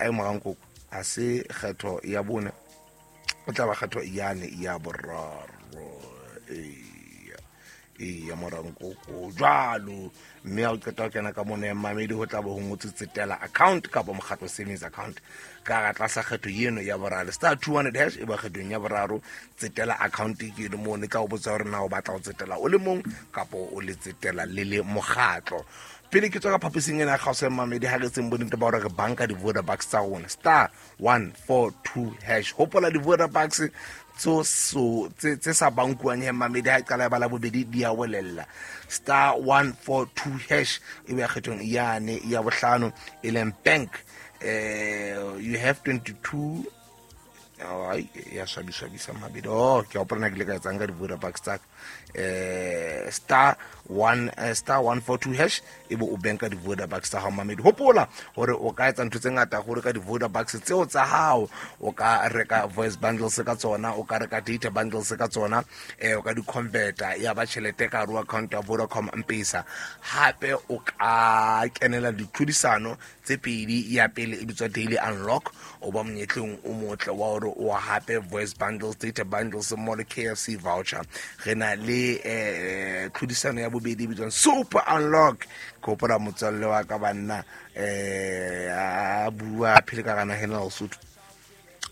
A morankoko a se kgetho ya bone, o tla ba kgetho yane ya boraro. Eya, morankoko jwalo. Mme ha o qeta ho kena ka mono ya mmamedi, ho tla bo ho ngotswe tsetela account kapa mokgatlo savings account ka ga tlasa kgetho eno ya boraro, *200#. E ba kgethong ya boraro, tsetela account ke eno mono. E tla o botsa hore na o batla ho tsetela o le mong kapa o le tsetela le le mokgatlo. Pele ke tswa ka phaposing ena ya kgaoso ya mmamedi, ha re tseng bonnete ba hore re banka di-Vodabucks tsa rona, *142#. Hopola, di-Vodabucks tso so tse sa bankuwang he mamedi, ha e qala ya bala bobedi di a welella. *142# e be kgethong yane ya bohlano, e leng bank. You have 22. Ai, ya swabiswabisa mabedi. Oh, ke a hopola na ke ile ka etsang ka di-Vodabucks tsaka. *1 *142# e be o banka di-Vodabucks tsa hao. Mamedi, hopola hore o ka etsa ntho tse ngata hore ka di-Vodabucks tseo tsa hao. O ka reka voice bundles ka tsona, o ka reka data bundles ka tsona, o ka di-converta ya ba tjhelete ka hare ho account ya Vodacom M-Pesa. Hape o ka kenela ditlhodisano tse pedi. Ya pele e bitswa Daily Unlock, o ba monyetleng o motle wa hore o hape voice bundles, data bundles mo le KFC voucher. Re na le tlhodisano ya bobedi e bitswang Super Unlock. Ke hopola motswalle wa ka, banna, a bua a phele ka gana hena Lesotho,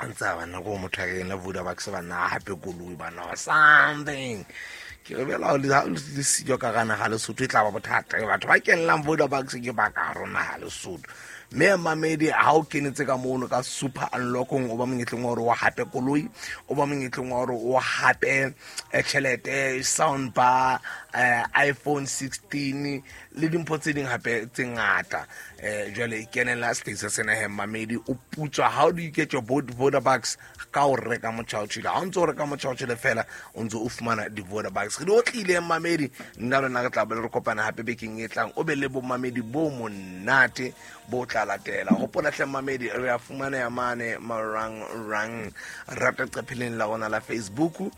a ntse a banna ko motho a kena Vodabucks, banna, a hape koloi, banna, or something. Ke re bela ha le siyo ka gana ga Lesotho, e tla ba bothata. Batho ba kenelang Vodabucks ke ba ka rona ga Lesotho. Mme mamedi, ha o kenetse ka mono ka Super Unlockong, o ba monyetleng wa hore o hape koloi, o ba monyetleng wa hore o hape tjhelete, sound bar, iPhone 16 le dimpho tse ding hape tse ngata. Jwale kenela sehlahisa sena he mamedi, o putswa. How do you get your Vodabucks? Ka o reka motjhaotjhele. Ha o ntse o reka motjhaotjhele fela, o ntse o fumana di-Vodabucks. Re di otlile, mamedi. Nna lona re tla be re kopana hape bekeng e tlang. O be le bomamedi bo monate bo tla latela. Hopola hle mamedi, re a fumaneha mane marangrang, rata qepheleng la rona la Facebook,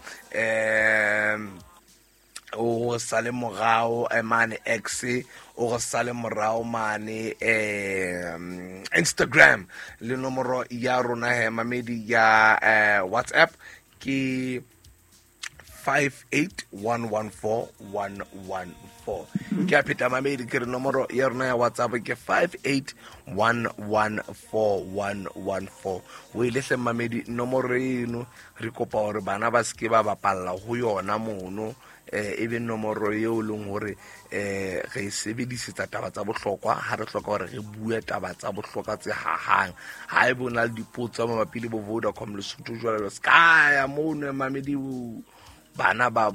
o sale morao mane X, o re sale morao mane Instagram. Le nomoro ya rona he mamedi ya WhatsApp ke 58114114. Ke a pheta mamedi, ke re nomoro ya rona ya WhatsApp ke 58114114. O ile hle mamedi, nomoro eno re kopa hore bana ba seke ba bapalla ho yona mono. E be nomoro eo e leng hore re e sebedisetsa taba tsa bohlokwa, ha re hloka hore re bue taba tsa bohlokwa tse hahang. Ha e bo na le dipotso mabapi le bo Vodacom Lesotho jwalo, se ka ya mono mamedi, bana ba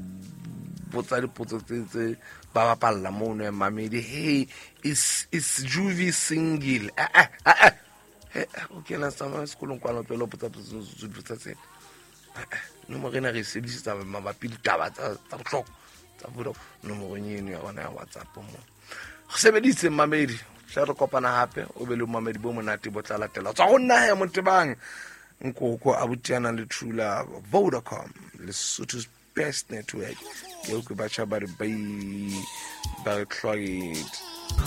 botsa dipotso tse ba bapalla mono mamedi. Hey, is Juvi single? Eh eh eh eh, o kena tsamaya sekolong kwana, o tlohele ho botsa dipotso tsena. Nomoro ena re e sebedisetsa mabapi le taba tsa bohlokwa tsa Vodacom, nomorong eno ya rona ya WhatsApp mo re sebeditse. Mamedi, tla re kopana hape. O be le mamedi bo monate bo tla latela. Tswa go nna ya Motebang Nkoko a botiana le Trula. Vodacom, Lesotho's best network. Ke utlwe batjha ba re bai ba re tlwaetse.